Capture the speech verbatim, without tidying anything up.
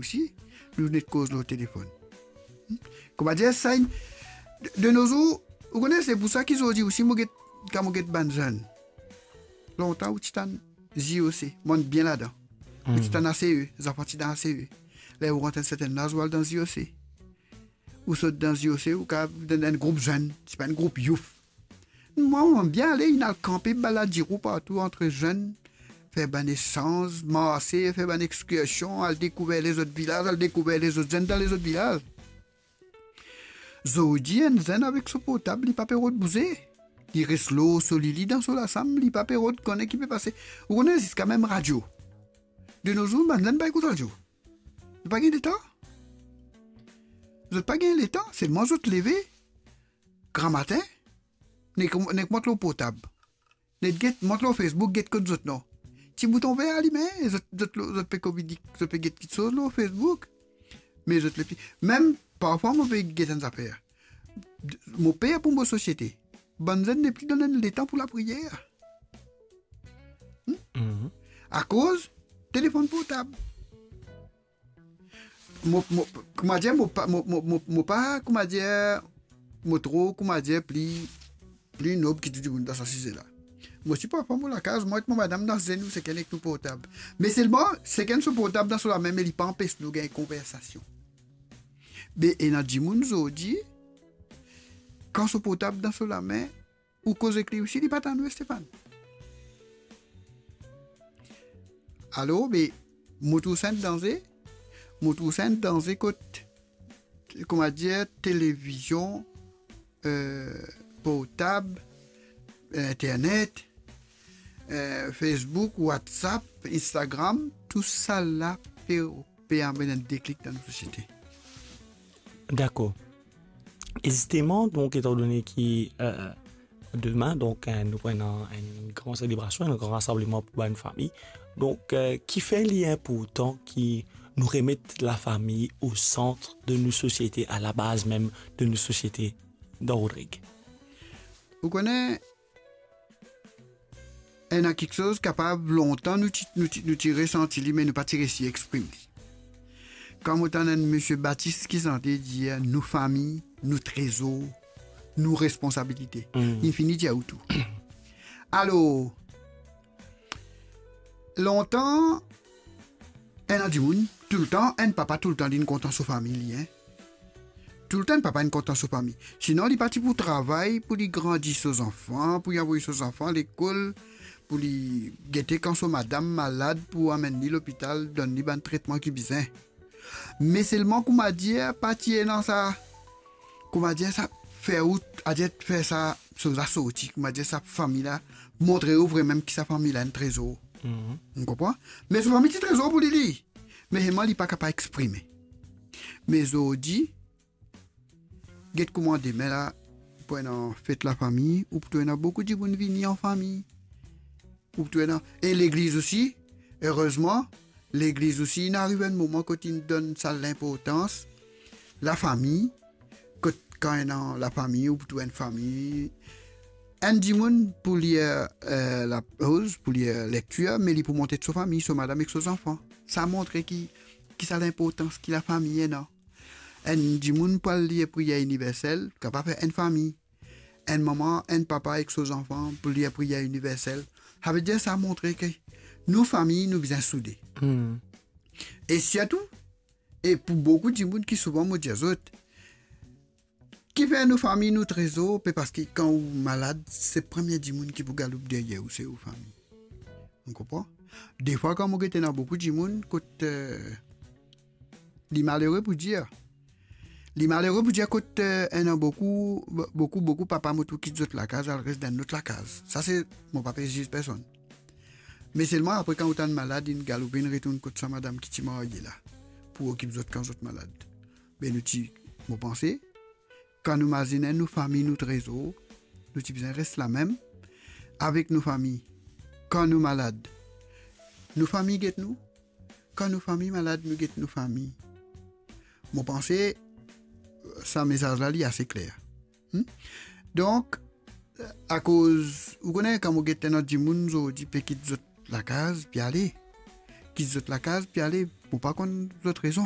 ti, nou net koz lor telefonn. Hmm? Koumadir sa, de, de nozour, ou kone, se pou sa ki zordi osi mo get, kan mo get bann zenn. Lontan ou ti tann J O C, monn bien ladan. Ou ti tann A C E, zanfan ti dan A C E. Ler ou rant enn sertenn laz, ou al dan J O C. Ou sot dan J O C, ou kapav dan enn group zenn, ti pa enn group youf. Mwa, mo bien ale, inn al kanpe, baladire partou ant zenn, fer bann esanz, marse, fer bann ekskursion, al dekouver lezot vilaz, al dekouver lezot zenn dan lezot vilaz. Zordi, enn zenn avek so portab, li pa pe rod bouze. Li res lor so lili dan so lasam, li pa pe rod kone ki pe pase. Ou kone, ziska mem radio. De nozour, bann zenn pa ekout radio. Zot pa gagn letan. Zot pa gagn letan, selman zot leve gramatin, nek, nek mont lor portab. Nek get, mont lor Facebook, get kot zot nom. Ti bouton ver alime, zot, zot, zot pe kominik, zot pe get kiksoz lor Facebook. Me zot nepli, mem parfwa mo pe get enn zafer. Mo per pou mo sosiete. Bann zenn nepli donn enn letan pou lapriyer. Hmm? Mhm. Akoz telefonn portab. Mo, mo, koumadir, mo pa, mo, mo, mo, mo pa, koumadir, mo tro, koumadir, pli, pli nob ki tou dimoun dan sa size la. Mo ti parfwa mo lakaz, mwa ek mo madam dan zenn, nou sekenn ek nou portab. Me selman, sekenn so portab dan so lame, me li pa anpes nou gagn konversasion. Be ena dimoun zordi, kan so portab dan so lame, ou koz ek li osi, li pa tann ou, Stéphane. Alor, be, mo trouv sa enn danze, mo trouv sa enn danze kot, koumadir, televizion, eh, portab, internet, eh, Facebook, WhatsApp, Instagram, tousala pe, pe amenn enn deklik dan nou sosiete. Dakor. E zisteman, donk, etandone ki, eh, demin, donk, eh, nou pou ena enn gran selebrasion, enn gran rasambleman pou bann fami. Donk, eh, kifer li inportan ki nou remet lafami o sant de nou sosiete, a labaz mem de nou sosiete dan Rodrig? Ou kone, ena kiksoz kapav lontan nou ti, nou ti, nou ti resanti li, me nou pa ti resi exprim li. Kan mo tann enn misie Batis ki sante, dir, "Nou fami, nou trezor, nou responsabilite." Hmm. Li fini dir ou tou. Alor, lontan, ena dimoun, toultan, enn papa toultan linn kontan so fami li, hein. Toultan enn papa inn kontan so fami. Sinon, li pa ti pou travay pou li grandi so zanfan, pou li avoy so zanfan lekol, pou li gete kan so madam malad, pou amenn li lopital, donn li bann tretman ki bizin. Me selman, koumadir, pa ti ena sa, koumadir, sa fer ou, adir fer sa, so la sorti, koumadir, sa fami la, montre ou vremem ki sa fami la enn trezor. Mhm. Ou konpran? Me so fami ti trezor pou li, li. Me selman, li pa kapav exprime. Me zordi, get kouma demin la, pou ena fet lafami, ou pou trouv ena boukou dimoun vini an fami. Ou pou trouv ena, e legliz osi, erezman, legliz osi, inn ariv enn moman kot inn donn sa linportans, lafami, kot kan ena lafami, ou pou trouv enn fami, enn dimoun pou lir, eh, lapoz, pou lir lektir, me li pou mont so fami, so madam ek so zanfan. Sa montre ki, ki sa linportans ki lafami ena. Enn dimoun pou al lir priyer iniversel, kapav fer enn fami. Enn mama, enn papa ek so zanfan pou lir priyer iniversel. Savedir sa montre ke nou fami, nou bizin soude. Hmm. E sirtou, e pou boukou dimoun ki souvan mo dir zot, kifer nou fami, nou trezor, pe paski kan ou malad, se premie dimoun ki pou galoup deryer ou, se ou fami. Ou konpran? Defwa, kan mo gete ena boukou dimoun, kot, eh, li malere pou dir. Li malere pou dir kot, eh, ena boukou, boukou, boukou papa mo trouv kit zot lakaz, al res dan enn lot lakaz. Sa se, mo pa pe ziz personn. Me selman apre, kan ou tann malad, inn galoupe, inn retourn kot sa madam ki ti marye la, pou okip zot kan zot malad. Be nou ti, mo panse, kan nou mazinn nou fami, nou trezor, nou ti bizin res lamem avek nou fami. Kan nou malad, nou fami get nou. Kan nou fami malad, nou get nou fami. Mo panse, sa mesaz la, li ase kler. Hmm? Donk, akoz, ou kone, kan mo get enn dimoun zordi pe kit zot lakaz, pe ale. Kit zot lakaz, pe ale. Mo pa konn zot rezon.